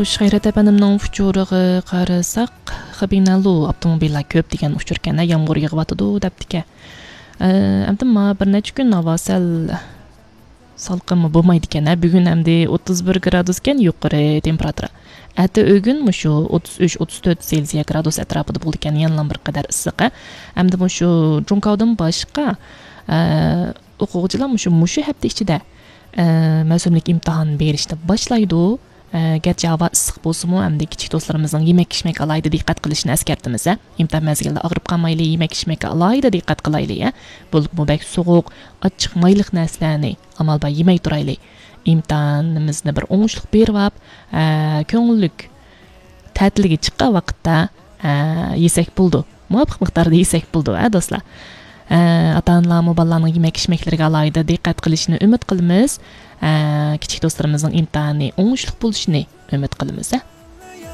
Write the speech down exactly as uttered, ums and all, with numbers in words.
خوش، خەيرەت ئەپەندىمنىڭ ئۇچۇرىغا قارىساق، خېبىڭنەنلۇ ئاپتوموبىللار كۆپ دېگەن ئۇچۇر ئىكەن، يامغۇر يېغىۋاتىدۇ دەپتىكەن. ئە، ئەمدى ما بىر نەچچە كۈن ھاۋا سەل سالقىنمۇ بولمايدىكەن. ھە، بۈگۈن ئەمدى ئوتتۇز بىر گرادۇسكەن يۇقىرى تېمپېراتۇرا. ئەتە ئۆگۈن مۇشۇ ئوتتۇز ئۈچ، ئوتتۇز تۆت سېلسىيە گرادۇس ئەتراپىدا بولىدىكەن، يەنىلا بىر قەدەر ئىسسىق. ھە، ئەمدى مۇشۇ جۇڭكاۋدىن باشقا، ئە، ئوقۇغۇچىلار مۇشۇ، مۇشۇ ھەپتە ئىچىدە، ئە، مەۋسۇملۇق ئىمتىھان بېرىشنى باشلايدۇ. ئە، گەرچە ھاۋا ئىسسىق بولسىمۇ، ئەمدى كىچىك دوستلىرىمىزنىڭ يېمەك-ئىچمەككە ئالاھىدە دىققەت قىلىشىنى ئەسكەرتىمىز، ھە. ئىمتىھان مەزگىلىدە ئاغرىپ قالمايلى، يېمەك-ئىچمەككە ئالاھىدە دىققەت قىلايلى، ھە. بولۇپمۇ بەك سوغۇق، ئاچچىق، مايلىق نەرسىلەرنى ئامال بار يېمەي تۇرايلى. ئىمتىھانىمىزنى بىر ئوڭۇشلۇق بېرىۋاپ، ئە، كۆڭۈللۈك تەتىلگە چىققان ۋاقىتتا، ئە، يېسەك بولىدۇ. مۇۋاپىق مىقداردا يېسەك بولىدۇ، ھە، دوستلار. ئە، ئاتا-ئانىلارمۇ بالىلارنىڭ يېمەك-ئىچمەكلىرىگە ئالاھىدە دىققەت قىلىشىنى ئۈمىد قىلىمىز. ئە، كىچىك دوستلىرىمىزنىڭ ئىمتىھانى ئوڭۇشلۇق بولۇشىنى ئۈمىد قىلىمىز، ھە.